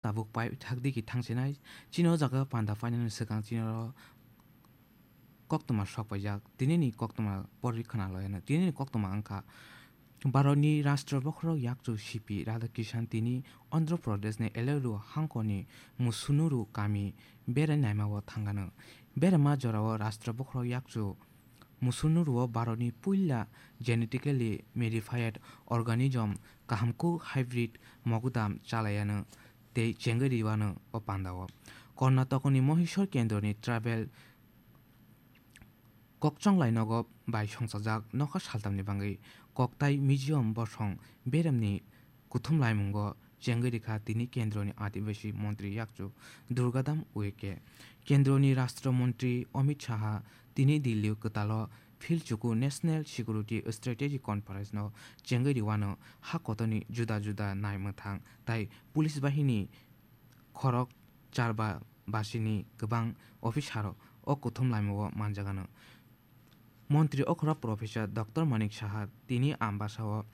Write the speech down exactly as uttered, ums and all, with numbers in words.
Tabuk pai thakdi ki thangsinai, chini o jaga panda painani swkang chini oro koktwma sok paijak, tinini koktwma pori khna loyano, tinini koktwma wngkha, Bharatni Rashtra Bokhorok Yakchu C P Radhakishan tini Andhra Pradeshni Eluru hangkoni Musunuru kami berai naima o thangano. Berama jorao Rashtra Bokhorok Yakchu Musunuru o Bharatni puila genetically modified organism kahamkuk hybrid mogudam chalayano tei chengwi riwano o pandao. Karnatokni Mahishor kendroni tribal kokchonglai nogo bai songchajak nokha saltamni bangwi koktai museum bosong beremni kuthum laimungo chengwi rikha tini kendroni adibasi montri yakchu Durgadam Uike. Kendroni Rashtra Montri Amit Shaha tini Delhi kwtalo philchuku National Security Strategy Conference no chengwi riwano ha kotorni juda juda nai mwthang tai police bahini khorok charba basini kwbang officer o kuthum laimungo manjagano. Montri okhorok Professor Doctor Manik Saha tini Ambasa o